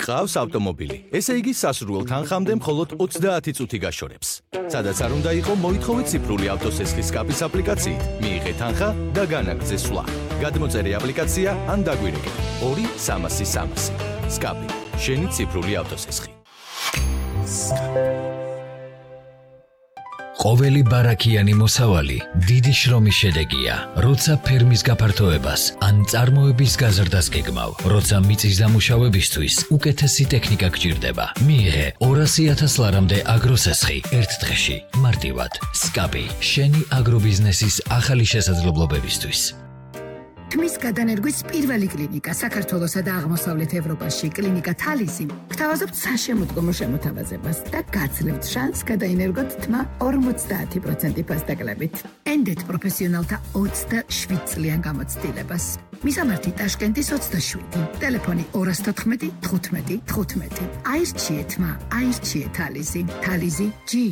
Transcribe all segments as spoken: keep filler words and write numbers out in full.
გყავს ავტომობილი. ესე იგი სასურველ თანხამდე მხოლოდ ოცდაათი წუთი გაშორებს. სადაც არ უნდა იყო, მოითხოვეთ ციფრული ავტოსესხლის სკაპის აპლიკაციით. მიიღეთ თანხა და განაგრძე სვლა. გადმოწერე აპლიკაცია ან დაგვირეკეთ ორი სამასი სამასი. სკაპი, შენი ციფრული ავტოსესხი. ყოველი ბარაქიანი მოსავალი დიდი შრომის შედეგია, როცა ფერმის გაფართოებას ან წარმოების გაზრდას გეგმავ, როცა მიწის დამუშავებისთვის უკეთესი ტექნიკა გჭირდება. მიიღე ორასი ათას ლარამდე აგროსესხი ერთ დღეში, მარტივად. სკაპი, შენი აგრობიზნესის ახალი შესაძლებლობებისთვის. თმის გადანერგვის პირველი კლინიკა საქართველოსა და აღმოსავლეთ ევროპაში, კლინიკა თალისი, გთავაზობთ საშემოდგომო შემოთავაზებას და გაძლევთ შანსს გადაინერგოთ თმა ორმოცდაათი პროცენტი ფასდაკლებით. ენდეთ პროფესიონალთა ოცდაშვიდ წლიან გამოცდილებას. მისამართი ტაშკენტის ოცდაშვიდი, ტელეფონი ორას თოთხმეტი თხუთმეტი თხუთმეტი. აირჩიე თმა, აირჩიე თალისი, თალისი ჯი.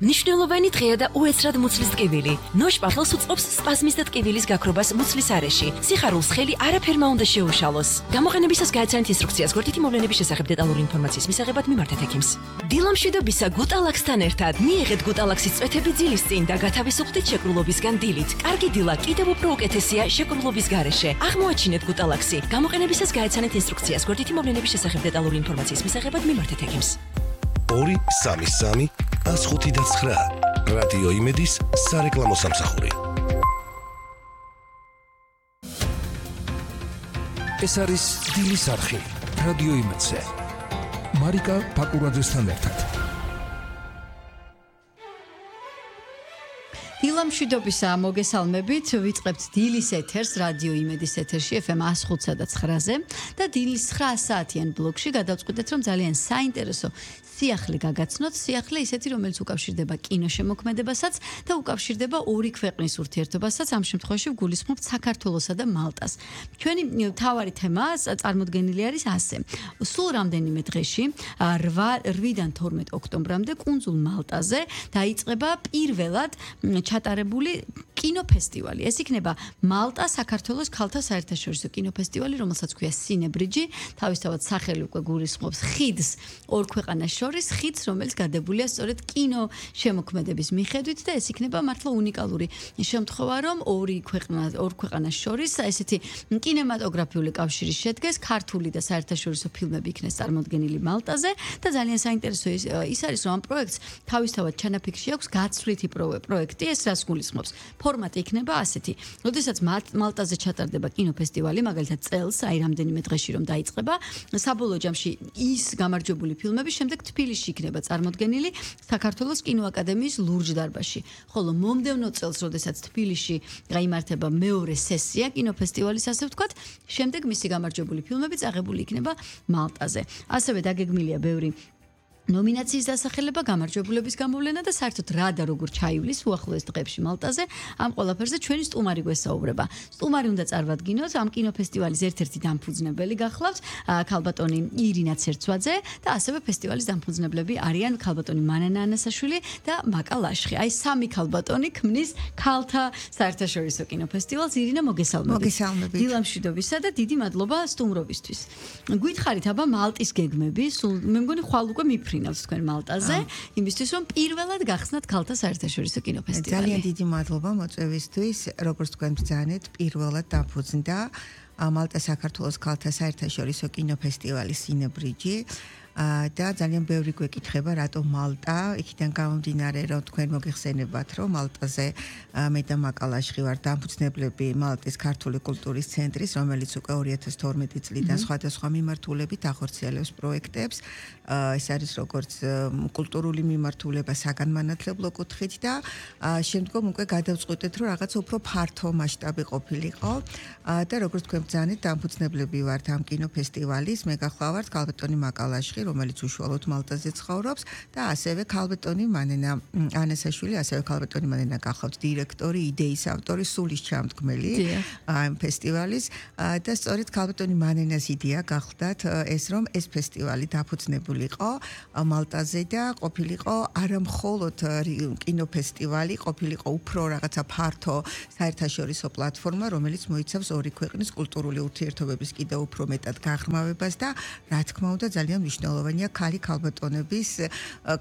მნიშვნელოვანი დღეა და უეცრად მუცლის ტკივილი. ნოშპახელს უწყობს სპაზმის და ტკივილის გაქრობას მუცლის არეში. სიხარულს ხელი არაფერმა უნდა შეუშალოს. გამოყენებისას გააცანეთ ინსტრუქციას გვერდითი მოვლენების შესახებ დეტალური ინფორმაციის მისაღებად მიმართეთ ექიმს. დილამშვიდობისა გუტალაქსთან ერთად მიიღეთ გუტალაქსის წვეთები ძილის წინ და გათავისუფლდით შეკრულობისგან დილით. კარგი დილა კიდევ უფრო უკეთესია შეკრულობის გარეშე. აღმოაჩინეთ გუტალაქსი. გამოყენებისას გააცანეთ ინსტრუქციას გვერდითი მოვლენების შესახებ დეტალური ინფორმაციის მისაღებად მიმართეთ ექიმს. ორი სამი სამი ას ხუთი და ცხრა. რადიო იმედის სარეკლამო სამსახური. ეს არის დილის არხი რადიო იმედზე. მარიკა ფაკურაძესთან ერთად. დილამშვიდობისა მოგესალმებით, ვიწყებთ დილის ეთერს რადიო იმედის ეთერში ეფ ემ ას ხუთსა და ცხრაზე და დილის ცხრა საათიან ბლოკში გადავწყვიტეთ, რომ ძალიან საინტერესო სიახლე გაგაცნოთ, სიახლე ისეთი, რომელიც უკავშირდება კინოშემოქმედებასაც და უკავშირდება ორი ქვეყნის ურთიერთობასაც, ამ შემთხვევაში ვგულისხმობთ საქართველოსა და მალტას. ჩვენი მთავარი თემა წარმოდგენილი არის ასე. სულ რამდენიმე დღეში, რვიდან თორმეტ ოქტომბრამდე კუნძულ მალტაზე დაიწყება პირველად ჩატარებული კინოფესტივალი. ეს იქნება მალტა საქართველოს ქალთა საერთაშორისო კინოფესტივალი, რომელსაც ქვია სინებრიჯი, თავისთავად სახელი უკვე გულისხმობს ხიდს ორ ქვეყანას შორის, ხიდს, რომელიც გადებულია სწორედ კინო შემოქმედების მიხედვით და ეს იქნება მართლა უნიკალური შემთხვევა, რომ ორი ქვეყნა ორ ქვეყანას შორის ესეთი კინემატოგრაფიული კავშირი შედგეს, ქართული და საერთაშორისო ფილმები იქნეს წარმოდგენილი მალტაზე და ძალიან საინტერესო ის არის, რომ ამ პროექტს თავისთავად ჩანაფიქრში აქვს გაცვლითი პროექტი, ეს რას გულისხმობს? ფორმატი იქნება ასეთი. როდესაც მალტაზე ჩატარდება კინოფესტივალი, მაგალითად წელს, აი რამდენიმე დღეში რომ დაიწყება, საბოლოო ჯამში ის გამარჯვებული ფილმები შემდეგ თბილისში იქნება წარმოდგენილი საქართველოს კინოაკადემიის ლურჯ დარბაზში. ხოლო მომდევნო წელს, როდესაც თბილისში გაიმართება მეორე სესია კინოფესტივალის, ასე ვთქვათ, შემდეგ მისი გამარჯვებული ფილმები წაღებული იქნება მალტაზე. ასევე დაგეგმილია ბევრი ნომინაციის დასახელება, გამარჯვებულების გამოვლენა და საერთოდ რა და როგორ ჩაივლის უახლოეს დღეებში მალტაზე, ამ ყველაფერზე ჩვენი სტუმარი გვესაუბრება. სტუმარი უნდა წარმოვადგინოთ, ამ კინოფესტივალის ერთ-ერთი დამფუძნებელი გახლავთ ქალბატონი ირინა ცერცვაძე და ასევე ფესტივალის დამფუძნებლები არიან ქალბატონი მანანა ანასაშვილი და მაკა ლაშხი. აი სამი ქალბატონი ქმნის ქალთა საერთაშორისო კინოფესტივალს. ირინა, მოგესალმებით. მოგესალმებით. დილამშვიდობისა და დიდი მადლობა სტუმრობისთვის. გითხარით აბა მალტის გეგმები, სულ მე მგონი ხვალ უკვე მიფრინავთ თქვენ მალტაზე, იმისთვის რომ პირველად გახსნათ ქალთა საერთაშორისო კინოფესტივალი. ძალიან დიდი მადლობა მოწვევისთვის. როგორც თქვენ ბრძანეთ, პირველად დაფუძნდა მალტა საქართველოს ქალთა საერთაშორისო კინოფესტივალი სინებრიჯი. და ძალიან ბევრი გვეკითხება, რატო მალტა? იქიდან გამომდინარე, რომ თქვენ მოგეხსენებათ, რომ მალტაზე მე და მაკა ლაშხი ვარ დამფუძნებლები მალტის ქართული კულტურის ცენტრის, რომელიც უკვე ორი ათას თორმეტი წლიდან სხვადასხვა მიმართულებით ახორციელებს პროექტებს. ეს არის როგორც კულტურული მიმართულება საგანმანათლებლო კუთხით და შემდგომ უკვე გადავწყვიტეთ, რომ რაღაც უფრო ფართო მასშტაბი ყოფილიყო და როგორც თქვენ ბრძანეთ, დამფუძნებლები ვართ ამ კინოფესტივალის, მე გახლავართ ქალბატონი მაკა ლაშხი, რომელიც უშუალოდ მალტაზე ცხოვრობს და ასევე ქალბატონი მანენა ანასაშვილი, ასევე ქალბატონი მანენა გახლავთ დირექტორი, იდეის ავტორი, სულის ჩამდგმელი ამ ფესტივალის და სწორედ ქალბატონი მანენას იდეა გახლდათ ეს რომ ეს ფესტივალი დაფუძნებულიყო მალტაზე და ყოფილიყო არა მხოლოდ კინოფესტივალი, ყოფილიყო უფრო რაღაცა ფართო საერთაშორისო პლატფორმა, რომელიც მოიცავს ორი ქვეყნის კულტურული ურთიერთობების კიდევ უფრო მეტად გაღრმავებას და რა თქმა უნდა ძალიან მნიშვნელოვანია ქალი ქალბატონების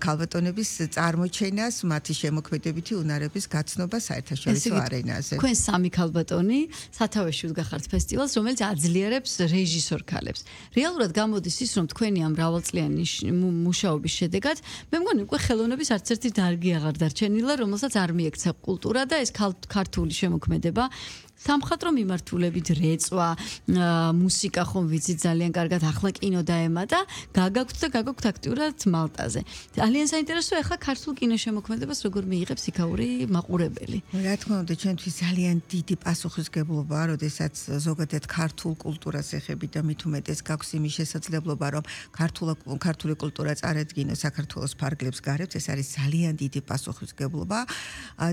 ქალბატონების წარმოჩენას, მათი შემოქმედებითი უნარების გაცნობა საერთაშორისო არენაზე. თქვენ სამი ქალბატონი სათავეში უდგახართ ფესტივალს, რომელიც აძლიერებს რეჟისორ ქალებს. რეალურად გამოდის ის, რომ თქვენი ამ მრავალწლიანი მუშაობის შედეგად, მე მგონი უკვე ხელოვნების არც ერთი დარგი აღარ დარჩენილა, რომელსაც არ მიექცა კულტურა და ეს ქართული შემოქმედება სამხატვრო მიმართულებით რეწვა, მუსიკა ხომ ვიცით ძალიან კარგად, ახლა კინო დაემატა, გაგაქვთ და გაგაქვთ აქტიურად მალტაზე. ძალიან საინტერესოა ახლა ქართულ კინოშემოქმედებას როგორ მიიღებს იქაური მაყურებელი. რა თქმა უნდა, ჩვენთვის ძალიან დიდი პასუხისგებლობაა, როდესაც ზოგადად ქართულ კულტურას ეხებით და მით უმეტეს გაქვს იმის შესაძლებლობა, რომ ქართული კულტურა წარადგინოს საქართველოს ფარგლებს გარეთ, ეს არის ძალიან დიდი პასუხისგებლობა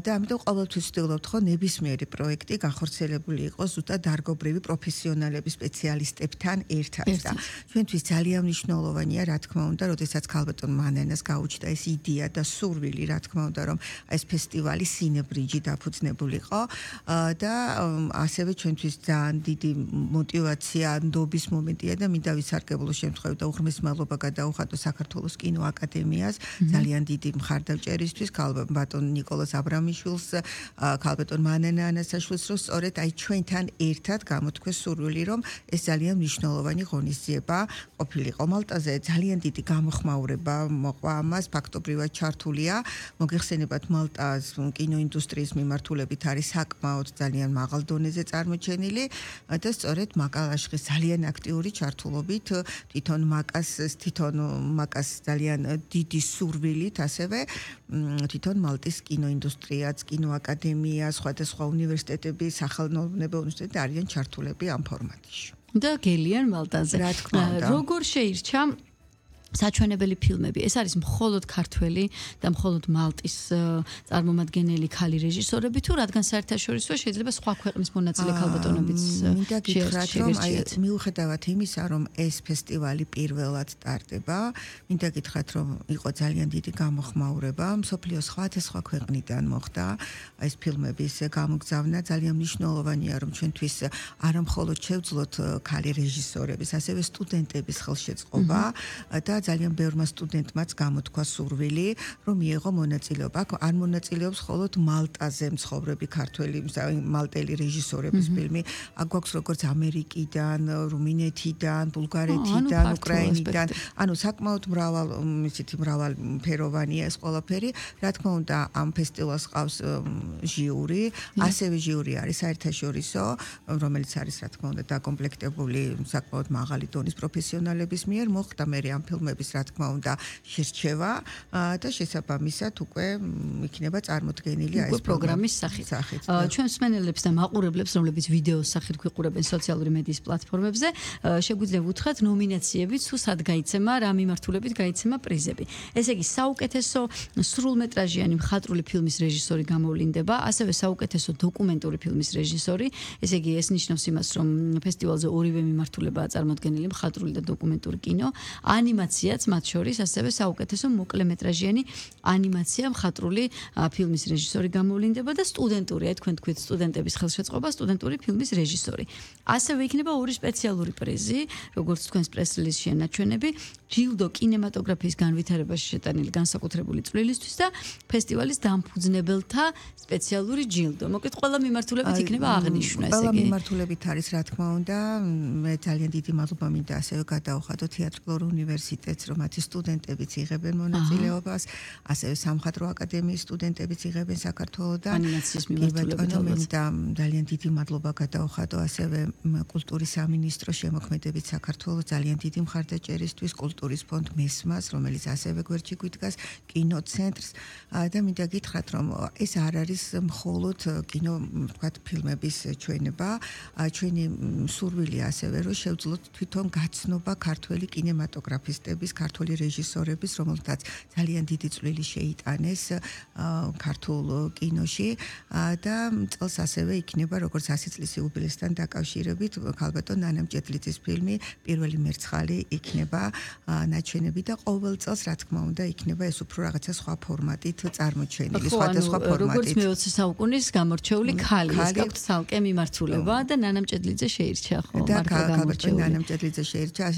და ამიტომ ყოველთვის ვცდილობთ ხო ნებისმიერი პროექტი განხორციელოს შეიძლება იყოს ზუსტად დარგობრივი პროფესიონალების სპეციალისტებთან ერთად და ჩვენთვის ძალიან მნიშვნელოვანია რა თქმა უნდა, როდესაც ქალბატონ მანენას გაუჩნდა ეს იდეა და სურვილი რა თქმა უნდა, რომ ეს ფესტივალი სინებრიჯი დაფუძნებულიყო და ასევე ჩვენთვის ძალიან დიდი мотиваცია, ნდობის მომენტია და მინდა ვისარგებლო შემთხვევით და უღრმეს მადლობა გადაუხადო საქართველოს კინოაკადემიას ძალიან დიდი მხარდამჭერისთვის ქალბატონ ნიკოლას აბრამიშვილს, ქალბატონ მანენა ანასაშვილს, რომ სწორედ აი ჩვენთან ერთად გამოთქვეს სურვილი, რომ ეს ძალიან მნიშვნელოვანი ღონისძიება ყოფილიყო მალტაზე. ძალიან დიდი გამოხმაურება მოყვა ამას, ფაქტობრივად ჩართულია. მოგეხსენებათ მალტას კინოინდუსტრიის მიმართულებით არის საკმაოდ ძალიან მაღალ დონეზე წარმოჩენილი და სწორედ მაკალაშხის ძალიან აქტიური ჩართულობით თვითონ მაკას თვითონ მაკას ძალიან დიდი სურვილით ასევე თვითონ მალტის კინოინდუსტრიაც, კინოაკადემია, სხვადასხვა უნივერსიტეტები, სახელმწიფო უნივერსიტეტი არიან ჩართულები ამ ფორმატში. და გელიან მალტაზე. რა თქმა უნდა. როგორ შეირჩა საჩვენებელი ფილმები. ეს არის მხოლოდ ქართველი და მხოლოდ მალტის წარმომადგენელი ქალი რეჟისორები თუ რადგან საერთაშორისო შეიძლება სხვა ქვეყნის მონაწილე ქალბატონებიც შეერჩიათ. მიუხედავად იმისა, რომ ეს ფესტივალი პირველად სტარტდება, მინდა გითხრათ, რომ იყო ძალიან დიდი გამოხმაურება, მსოფლიოს სხვადასხვა ქვეყნიდან მოხდა ეს ფილმების გამოგზავნა. ძალიან მნიშვნელოვანია, რომ ჩვენთვის არა მხოლოდ შევძლოთ ქალი რეჟისორების, ასევე სტუდენტების ხელშეწყობა და ძალიან ბევრმა სტუდენტმაც გამოთქვა სურვილი, რომ მიეღო მონაწილეობა. არ მონაწილეობს მხოლოდ მალტაზე მცხოვრები ქართველი, მალტელი რეჟისორების ფილმი. აქ გვაქვს როგორც ამერიკიდან, რუმინეთიდან, ბულგარეთიდან, უკრაინიდან. ანუ საკმაოდ მრავალ, ისეთი მრავალფეროვანია ეს ყველაფერი. რა თქმა უნდა, ამ ფესტივალს ყავს ჟიური, ასევე ჟიური არის საერთაშორისო, რომელიც არის რა თქმა უნდა დაკომპლექტებული საკმაოდ მაღალი დონის პროფესიონალების მიერ. მოხდა მე ამ ფილმ რა თქმა უნდა შერჩევა და შესაბამისად უკვე იქნება წარმოდგენილი აი ეს პროგრამის სახით. ჩვენ მსმენელებს და მაყურებლებს, რომლებიც ვიდეოს სახით გვიყურებენ სოციალური მედიის პლატფორმებზე, შეგვიძლია ვუთხრათ ნომინაციებით, თუ სად გაიცემა, რა მიმართულებით გაიცემა პრიზები. ესე იგი, საუკეთესო სრულმეტრაჟიანი მხატვრული ფილმის რეჟისორი გამოვლინდება, ასევე საუკეთესო დოკუმენტური ფილმის რეჟისორი. ესე იგი, ეს ნიშნავს იმას, რომ ფესტივალზე ორივე მიმართულებაა წარმოდგენილი მხატვრული და დოკუმენტური კინო, ანიმაციაც მათ შორის, ასევე საუკეთესო მოკლემეტრაჟიანი ანიმაცია მხატვრული ფილმის რეჟისორი გამოვლინდება და სტუდენტური, აი თქვენ თქვით სტუდენტების ხელშეწყობა, სტუდენტური ფილმის რეჟისორი. ასევე იქნება ორი სპეციალური პრიზი, როგორც თქვენს პრეს-რელიზში ენაჩვენები, ჯილდო კინემატოგრაფიის განვითარებაში შეტანილი განსაკუთრებული წვლილისთვის და ფესტივალის დამფუძნებელთა სპეციალური ჯილდო. მოკლედ, ყველა მიმართულებით იქნება აღნიშნა, ესე იგი. ყველა მიმართულებით არის, რა თქმა უნდა, მე ძალიან დიდი მადლობა მინდა ასევე გადაუხადო თეატრალურ უნივერსიტეტს, რომ მათი სტუდენტებიც იღებენ მონაწილეობას, ასევე სამხატვრო აკადემიის სტუდენტებიც იღებენ საქართველოსთან. ანიმაციის მიმართულებით მინდა ძალიან დიდი მადლობა გადაუხადო ასევე კულტურის სამინისტროს შემოქმედებით საქართველოს ძალიან დიდი მხარდაჭერისთვის, კულტურის ფონდ მესმას, რომელიც ასევე გვერდში გვიდგას, კინოცენტრს და მინდა გითხრათ, რომ ეს არ არის მხოლოდ კინო, ვთქვათ, ფილმების ჩვენება, ჩვენი სურვილია ასევე, რომ შევძლოთ თვითონ გაცნობა ქართველი კინემატოგრაფისტების რეჟისორების, ქართული რეჟისორების, რომელთაც ძალიან დიდი წვლილი შეიტანეს ქართულ კინოში და წელს ასევე იქნება როგორც ასი წლის იუბილეისთან დაკავშირებით ქალბატონ ნანა მჭედლიძის ფილმი პირველი მერცხალი იქნება ნაჩვენები და ყოველ წელს რა თქმა უნდა იქნება ეს უფრო რაღაცა სხვა ფორმატით წარმოჩენილი, სხვადასხვა ფორმატით. როგორც მეოცე საუკუნის გამორჩეული ქალი, ეს გაქვთ ცალკე მიმართულება და ნანა მჭედლიძე შეირჩა ხო? და ქალბატონ ნანა მჭედლიძე შეირჩა,